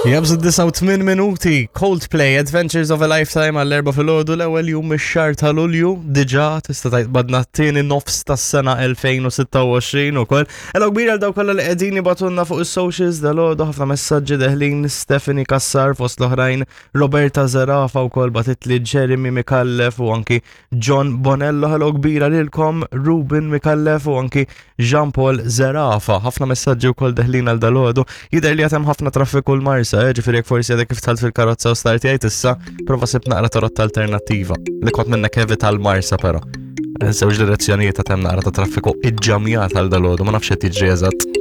Jabżu 89 minuti, Coldplay, Adventures of a Lifetime għall-erba filgħodu l-ewwel jum ix-xahar ta' Lulju, diġà tista' tgħid badna t-tieni nofs tas-sena 2026 ukoll. Hello kbira għal dawk kollha li qegħdin jibatunna fuq is-socials dalgħodu ħafna messaġġi deħlin Stephanie Kassar fost l-oħrajn, Roberta Zerafa wkoll batitli Jeremy Mikallef u anki John Bonello, hello kbira lilkom, Ruben Mikallef u anki Jean Paul Zerafa. Ħafna messaġġi wkoll deħlin għal dalodu. Jidher li għatem ħafna traffiku l-Marsa, eh, ġifieri jekk forsi għadek kif tħalt fil-karozza u startjajt issa, prova sib naqra ta' alternattiva. Li kont minnek evita l-Marsa però. Żewġ direzzjonijiet għatem naqra ta' traffiku iġġamjat għal dalodu, ma nafx qed jiġri eżatt.